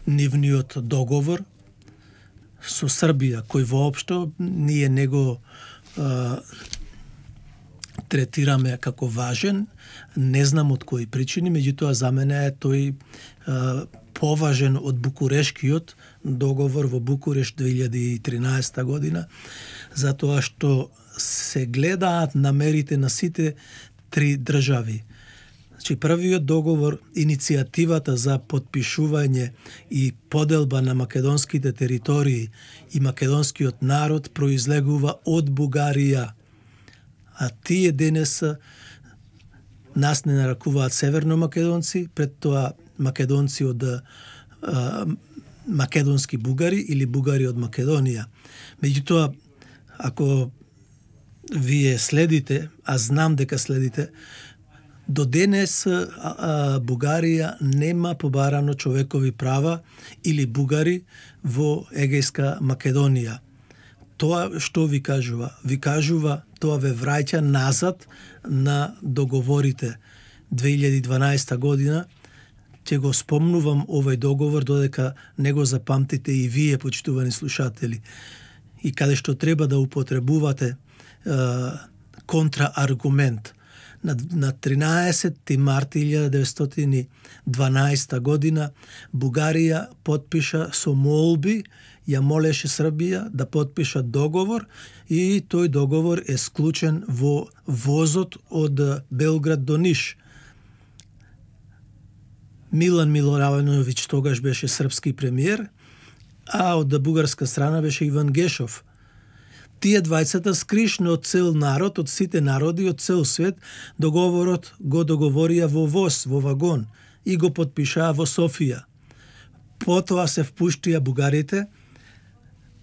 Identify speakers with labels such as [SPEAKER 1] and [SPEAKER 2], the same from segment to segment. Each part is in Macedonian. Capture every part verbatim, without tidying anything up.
[SPEAKER 1] нивниот договор со Србија, кој воопшто ние него а, третираме како важен, не знам од кои причини, меѓутоа за мене е тој а, поважен од Букурешкиот договор во Букуреш две илјади и тринаесета година, затоа што се гледаат намерите на сите три држави. Значи, првиот договор, иницијативата за подпишување и поделба на македонските територии и македонскиот народ произлегува од Бугарија. А тие денес нас не нарекуваат северно македонци, пред тоа македонци од а, македонски бугари или бугари од Македонија. Меѓутоа, ако вие следите, а знам дека следите, до денес а, а, Бугарија нема побарано човекови права или бугари во Егејска Македонија. Тоа што ви кажува? Ви кажува, тоа ве враќа назад на договорите две илјади и дванаесета година. Ќе го спомнувам овој договор додека не го запамтите и вие, почитувани слушатели, и каде што треба да употребувате е, контрааргумент. На, на тринаесети март илјада деветстотини и дванаесета година Бугарија подпиша со молби, ја молеше Србија да подпишат договор и тој договор е склучен во возот од Белград до Ниш. Милан Милоравановиќ тогаш беше српски премиер, а од бугарска страна беше Иван Гешов. Тие двајцата скришно од цел народ, од сите народи, од цел свет, договорот го договорија во воз, во вагон и го подпишаа во Софија. Потоа се впуштија бугарите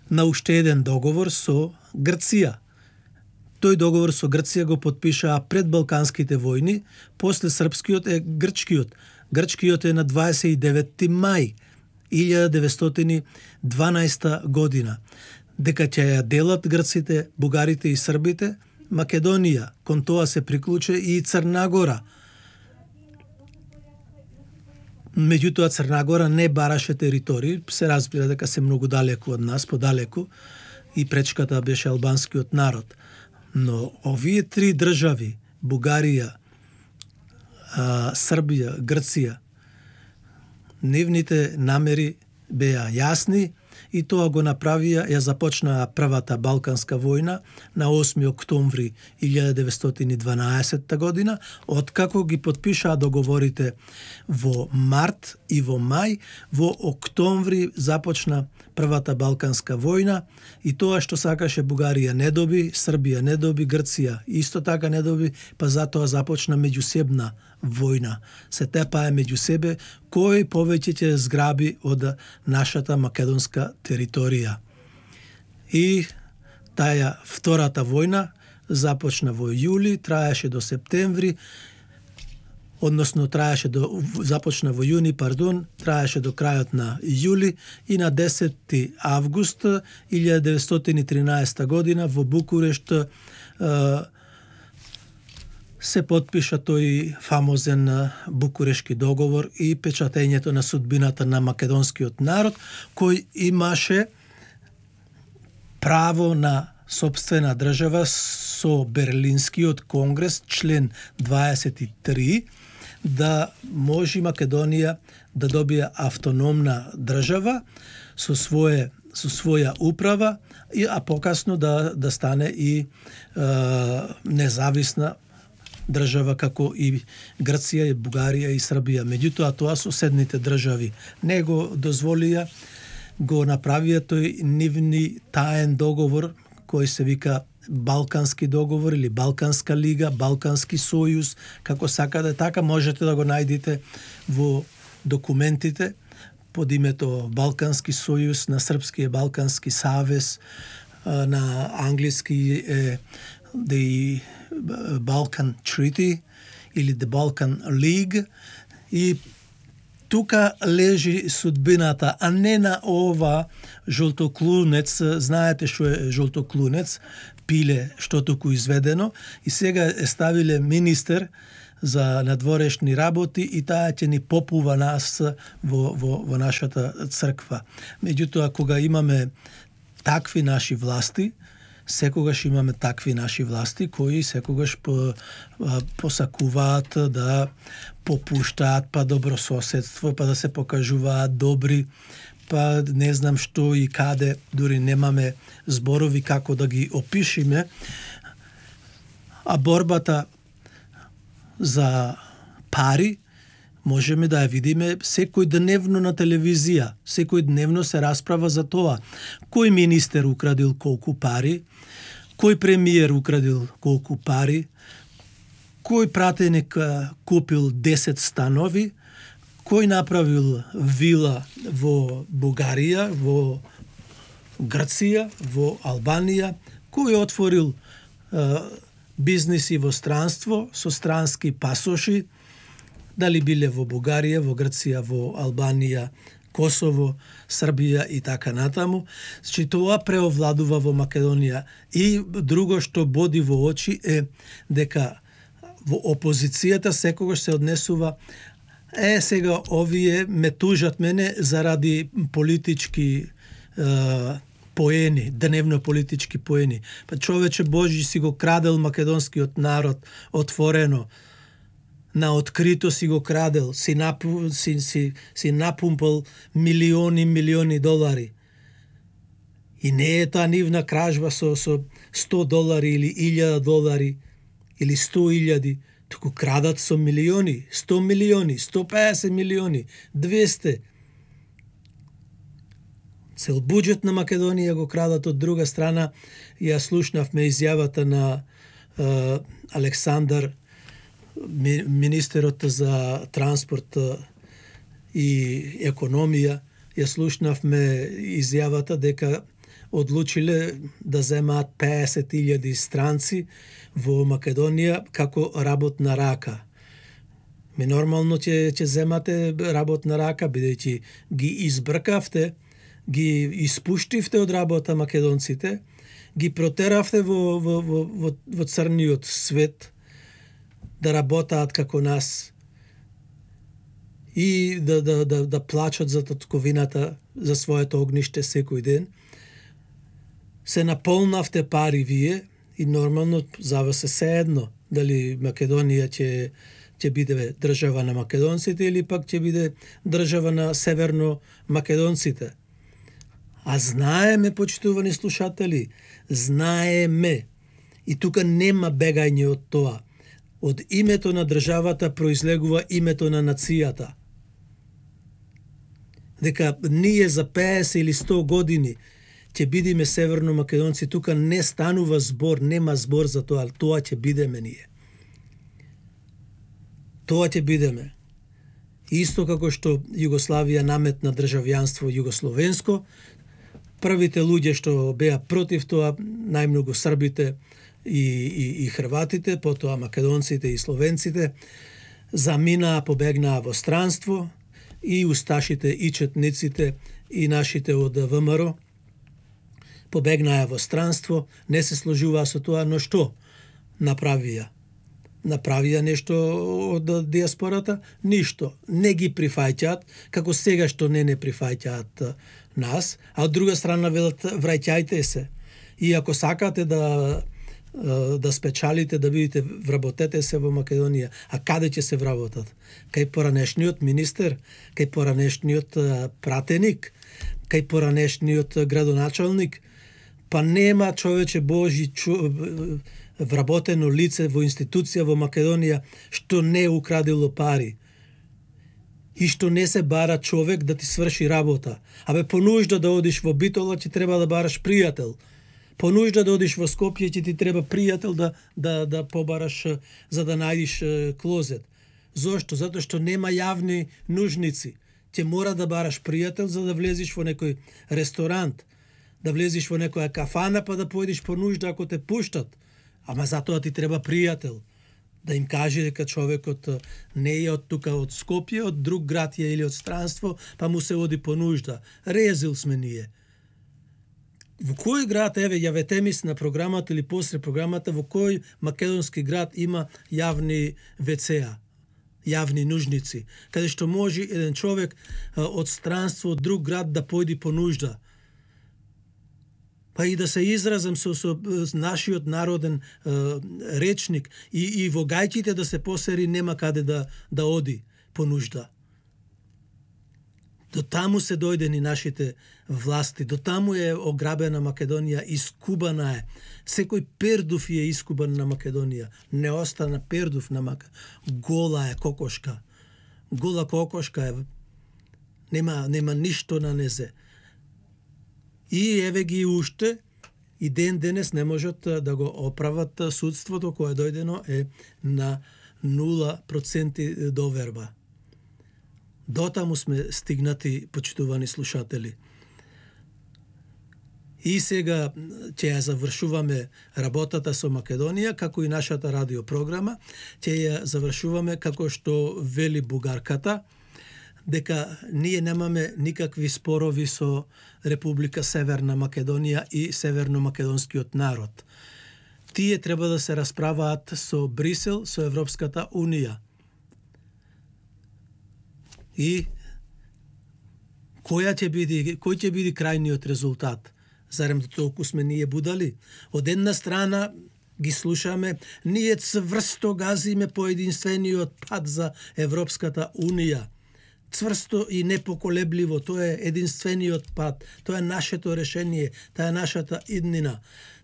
[SPEAKER 1] на уште еден договор со Грција. Тој договор со Грција го подпишаа пред Балканските војни, после српскиот е грчкиот. Грчкиот е на дваесет и деветти мај илјада деветстотини и дванаесета година. Дека ќе ја делат грците, бугарите и србите Македонија. Кон тоа се приклуче и Црна Гора. Меѓутоа Црна Гора не бараше територии, се разбира дека се многу далеку од нас, подалеку, и пречката беше албанскиот народ. Но овие три држави, Бугарија, а, Србија, Грција, нивните намери беа јасни и тоа го направија, ја започнаа првата Балканска војна на осми октомври илјада деветстотини и дванаесета година, откако ги подпишаа договорите во март и во мај, во октомври започна првата Балканска војна и тоа што сакаше Бугарија не доби, Србија не доби, Грција исто така не доби, па затоа започна меѓусебна војна. Се тепае меѓу себе кој повеќе ќе зграби од нашата македонска територија. И таа втората војна започна во јули, траеше до септември, односно траеше до започна во јуни, пардон, траеше до крајот на јули и на десети август илјада деветстотини и тринаесета година во Букурешт се подпиша тој фамозен Букурешки договор и печатењето на судбината на македонскиот народ, кој имаше право на сопствена држава со Берлинскиот конгрес, член дваесет и три, да може Македонија да добие автономна држава со свое со своја управа, и а покасно да да стане и е, независна држава како и Грција, и Бугарија и Србија. Меѓутоа тоа соседните држави не го дозволија, го направија тој нивни таен договор кој се вика Балкански договор или Балканска лига, Балкански сојуз, како сакате, така можете да го најдете во документите под името Балкански сојуз, на српски е Балкански савез, на англиски е The Balkan Treaty или The Balkan League, и тука лежи судбината, а не на ова жолтоклунец. Знаете што е жолтоклунец, пиле што туку изведено, и сега е ставиле министер за надворешни работи и таа ќе ни попува нас во, во, во нашата црква. Меѓутоа, кога имаме такви наши власти, секогаш имаме такви наши власти кои секогаш по, посакуваат да попуштаат па добрососедство, па да се покажуваат добри, па не знам што и каде, дури немаме зборови како да ги опишиме. А борбата за пари можеме да ја видиме секој дневно на телевизија. Секој дневно се расправа за тоа. Кој министер украдил колку пари, кој премиер украдил колку пари, кој пратеник купил десет станови, кој направил вила во Бугарија, во Грција, во Албанија, кој отворил е, бизниси во странство со странски пасоши, дали биле во Бугарија, во Грција, во Албанија, Косово, Србија и така натаму. Значи тоа преовладува во Македонија. И друго што боди во очи е дека во опозицијата секогаш се однесува е сега овие ме тужат мене заради политички е, поени, дневно политички поени. Па човече Божи си го крадел македонскиот народ отворено, на открито си го крадел, си, напу, си, си, си напумпал милиони, милиони долари. И не е таа нивна кражба со, со сто долари или илјада долари или сто илјади, туку крадат со милиони, сто милиони, сто песет милиони, двесте. Цел буџет на Македонија го крадат. Од друга страна, ја слушнавме изјавата на е, Александар, министерот за транспорт и економија. Ја слушнавме изјавата дека одлучиле да земаат песет илјади странци во Македонија како работна рака. Ми нормално ќе ќе земате работна рака, бидејќи ги избркавте, ги испуштивте од работа македонците, ги протеравте во, во, во, во, во црниот свет да работаат како нас и да, да, да, да плачат за татковината, за своето огниште секој ден. Се наполнавте пари вие и нормално за вас е седно дали Македонија ќе ќе биде држава на македонците или пак ќе биде држава на северно македонците. А знаеме, почитувани слушатели, знаеме. И тука нема бегање од тоа. Од името на државата произлегува името на нацијата. Дека ние за песет или сто години ќе бидеме северно македонци, тука не станува збор, нема збор за тоа, тоа ќе бидеме ние. Тоа ќе бидеме. Исто како што Југославија наметна државјанство југословенско, првите луѓе што беа против тоа, најмногу србите и, и, и хрватите, потоа македонците и словенците, заминаа, побегнаа во странство, и усташите и четниците и нашите од ВМРО побегнаа во странство, не се сложуваа со тоа, но што направија? Направија нешто од диаспората? Ништо. Не ги прифаќаат, како сега што не не прифаќаат нас, а од друга страна велат враќајте се. И ако сакате да да спечалите, да бидете, вработете се во Македонија. А каде ќе се вработат? Кај поранешниот министер, кај поранешниот пратеник, кај поранешниот градоначалник? Па нема, човече Божи, чу... вработено лице во институција во Македонија што не украдило пари и што не се бара човек да ти сврши работа. Абе, по нужда да одиш во Битола, ќе треба да бараш пријател. По нужда да одиш во Скопје, ќе ти треба пријател да, да, да побараш за да најдиш клозет. Зошто? Затоа што нема јавни нужници. Ќе мора да бараш пријател за да влезеш во некој ресторант, да влезеш во некоја кафана, па да појдеш по нужда ако те пуштат. Ама затоа ти треба пријател. Да им каже дека човекот не е од тука, од Скопје, од друг град е или од странство, па му се оди по нужда. Резил сме ние. во кој град, еве, јавете ми се на програмата или после програмата, во кој македонски град има јавни ве це-а, јавни нужници, каде што може еден човек а, од странство, од друг град да појди по нужда. Па и да се изразам со, со нашиот народен а, речник и, и во гајките да се посери нема каде да, да оди по нужда. До таму се дојдени нашите власти, до таму е ограбена Македонија, искубана е. Секој пердув е искубан на Македонија. Не остана пердув на Македонија. Гола е кокошка. Гола кокошка е. Нема, нема ништо на незе. И еве ги уште, и ден денес не можат да го оправат судството кое дојдено е на нула проценти доверба. Дотаму сме стигнати, почитувани слушатели. И сега ќе ја завршуваме работата со Македонија, како и нашата радиопрограма, ќе ја завршуваме како што вели бугарката, дека ние немаме никакви спорови со Република Северна Македонија и северно-македонскиот народ. Тие треба да се расправаат со Брисел, со Европската Унија. И која ќе биде, кој ќе биде крајниот резултат? Зарем толку сме ние будали? Од една страна ги слушаме, ние цврсто газиме по единствениот пат за Европската Унија. Цврсто и непоколебливо, тоа е единствениот пат, тоа е нашето решение, тоа е нашата иднина.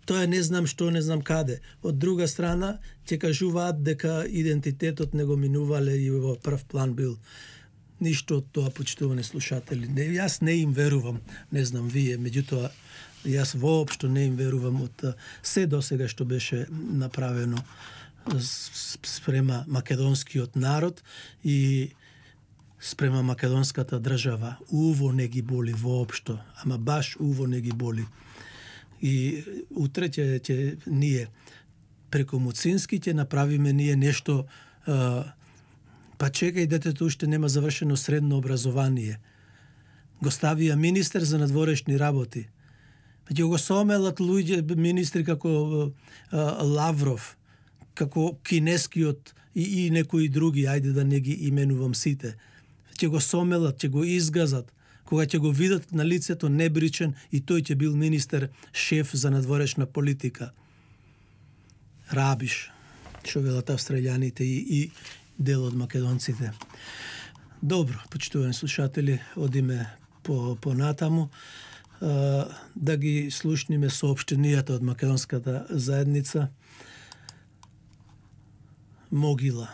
[SPEAKER 1] Тоа е не знам што, не знам каде. Од друга страна, ќе кажуваат дека идентитетот не го минувале и во прв план бил. Ништо од тоа, почитувани слушатели. Не, јас не им верувам, не знам вие, меѓутоа јас воопшто не им верувам од се досега што беше направено спрема македонскиот народ и спрема македонската држава. Уво не ги боли воопшто, ама баш уво не ги боли. И утре ќе, ќе ние преку Муцински ќе направиме ние нешто. Па чекај, детето уште нема завршено средно образование. Го ставија министер за надворешни работи. Ќе го сомелат луѓе, министри како а, Лавров, како кинескиот и, и некои други, ајде да не ги именувам сите. Ќе го сомелат, ќе го изгазат. Кога ќе го видат на лицето небричен и тој ќе бил министер, шеф за надворешна политика. Рабиш, што велат австралијаните и, и дел од македонците. Добро, почитувани слушатели, одиме по, по натаму а, да ги слушниме соопштенијата од македонската заедница. Могила.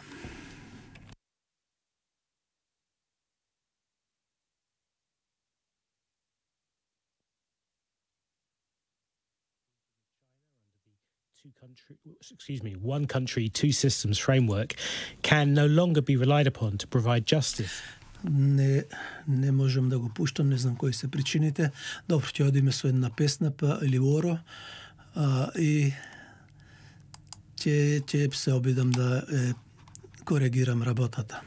[SPEAKER 2] Two country, excuse me, one country, two systems framework can no longer be relied upon to provide justice.
[SPEAKER 1] Не, не можам да го пуштам, не знам кои се причините. Добро, ќе одиме со една песна, па Ливоро, а, и ќе, ќе се обидам да е, коригирам работата.